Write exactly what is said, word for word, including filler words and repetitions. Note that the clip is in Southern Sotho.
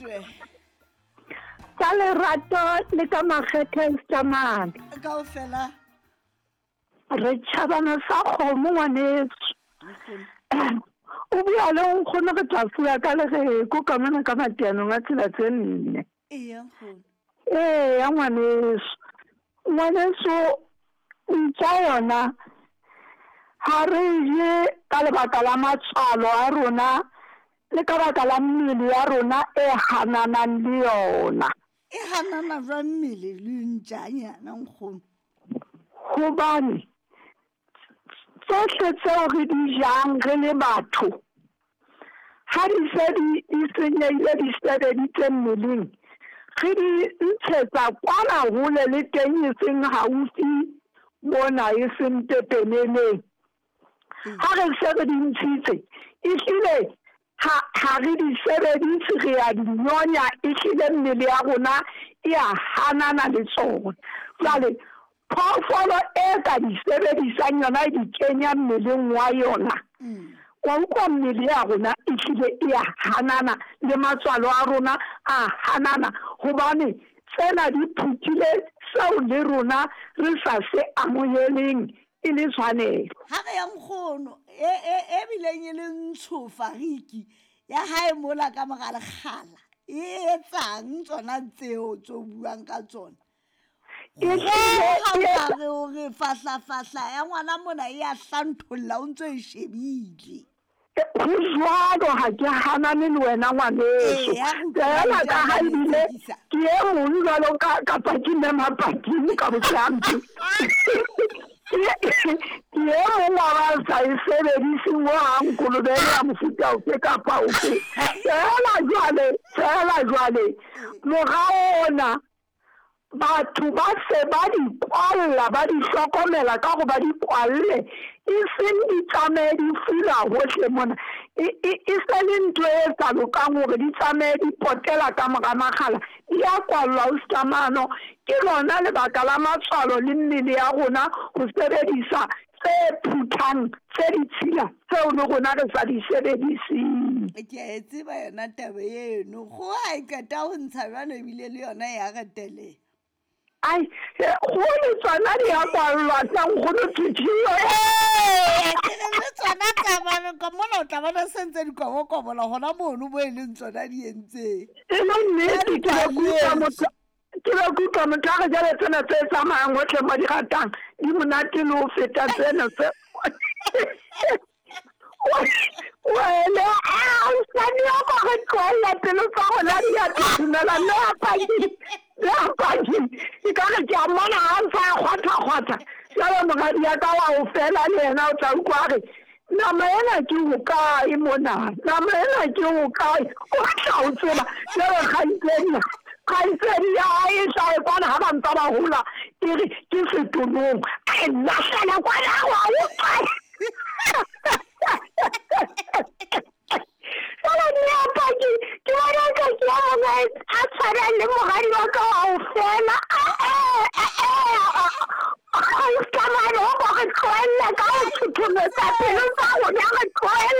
Twe. Ka lerato le ka makgethe Stamane. Kaofela. Re tšhabana sa kgomo ngwaneso. O bua le nkgono re tla fula ka lereko ka mona ka matianong a tsela tse nne. Eya nkgono. Eya ngwaneso. Ngwaneso ntja yona ha re je ka lebaka la matswalo a rona le ka baka la mmele ya rona e hananang le yona. E hanana jwang mmele le ntjanyana nkgono? Hobane tsohle tseo re di jang re le batho ha di se di di senyehile di sebeditse mmeleng, re di ntshetsa kwana hole le teng e seng haufi mona e seng pepeneneng. Ha re se re di ntshitse, ehlile ha ha re di sebedise re a di nyonya, ehlile mmele ya rona e a hanana le tsona. Jwale phoofolo e ka di sebedisang yona e di kenya mmeleng wa yona, wa utlwa mmele ya rona ehlile e a hanana le matswalo a rona a hanana, hobane tsena di phuthile seo le rona re sa se amoheleng e le tshwanelo. Ha re ya nkgono e e e bileng e le ntsho fariki ya hae mola ka mora lekgala e etsang tsona tseo tse o buang ka tsona? Ehlile Ha re o re fahla-fahla ya ngwana mona e a hlantholla o ntso e shebile. Ho jwalo, ha ke hanane le wena ngwaneso. Eya, re utlwa Feela ka ha ntjana le ebile tsekisa. ke e mong jwalo ka kapa ke mme Mapakeng ka bohlampi. Ke e mong wa ba sa e sebediseng hohang kolobe ena ya mofuta ofe kapa ofe. Feela jwale, feela jwale, mora ona batho ba se ba di kwalla, ba di hlokomela ka hore ba di kwalle, e seng di tsamaye di fula hohle mona. E, e, e se le ntho e sa lokang hore di tsamaye di potela ka mora makgala, di a kwallwa ho Stamano. Ke lona lebaka la matswalo le mmele ya rona ho sebedisa tse phuthang, tse ditshila tseo le rona re sa di sebediseng. Ke a e tseba yona taba eno. Kgoho ha e qeta ho ntsha jwalo ebile le yona ya reteleha. Ai, kgoho le tsona di a kwallwa tsa nkgono Thuthiyo. Ee, ke re le tsona tsa bana ka mona o tla bona se ntse di kobokobola hona mono mo e leng tsona di entseng. E le nnete, ke be ke utlwa motho, ke be ke utlwa motho a re jwale tsena tse tsamayang hohle mo di ratang di monate le ho feta tsena tse. Wele, a osane ya ka re tlohella pelo tsa rona di a thuthumela, mme a paki, mme a paki. E ka re ke a mmona ha ntse a kgwatha-kgwatha. Jwale moradi ya ka wa ho fela le yena o tla utlwa a re, nama ena ke hokae mona? Nama ena ke hokae? O tla o tseba. Jwale kgaitsedi, kgaitsedi ya hae e hlahe kwana ha ba ntse ba hola, e re ke setolong. A e lahlela kwana wa utlwa. Jwale mme a paki, ke bona eka ke ya mona a tshwanang le moradi wa ka wa ho fela. Stamane, ho re tlohelle ka ho thuthumetsa pelo tsa rona, re tlohelle.